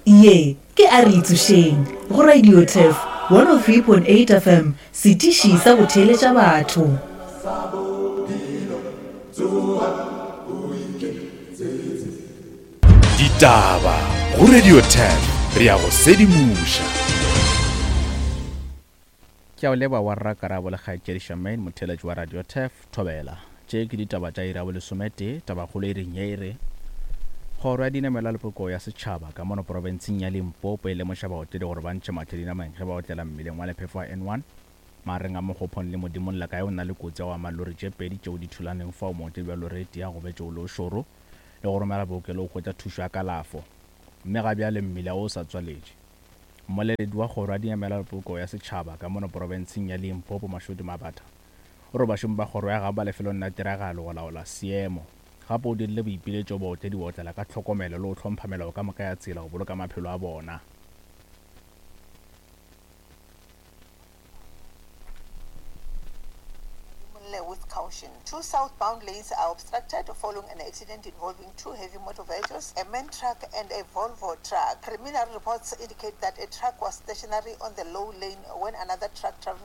Ye ke A Re Itsošeng go Radio Turf 103.8 FM, setiši sa go theeletša batho. Ditaba go Radio Turf, re a go sedimoša. Ke a o leboga wa rra Karabo le kgaetšedi Charmaine motheeletši wa Radio Turf, Thobela. Tše ke ditaba tša iri ya bolesometee, tabakgolo iring ye e re, Kgoro ya Dinamelwa le Polokego ya Setšhaba ka mono profenseng ya Limpopo e lemoša baotledi gore ba ntšhe mahlo dinameng ge ba otlela mmileng wa lephefo wa N1 magareng a Mokgophong le Modimong Lakae o na le kotsi ya go ama lori tše pedi tšeo di thulaneng fao mootledi wa lori e tee a gobetše o le o šoro le go romela bookelong go hwetša thušo ya kalafo mme ga bjale mmila wo o sa tswaletše. Mmoleledi wa Kgoro ya Dinamelwa le Polokego ya Setšhaba ka mono profenseng ya Limpopo Mashudu Mabatha o re bašomi ba kgoro ya gabo ba lefelong la tiragalo go laola seemo. Gape o dirile boipiletšo go baotledi go otlela ka tlhokomelo le go hlompha melao ka moka ya tsela go boloka maphelo a bona. With caution. Two southbound lanes are obstructed following an accident involving two heavy motor vehicles, a man truck and a Volvo truck. Preliminary reports indicate that a truck was stationary on the low lane when another truck traveling.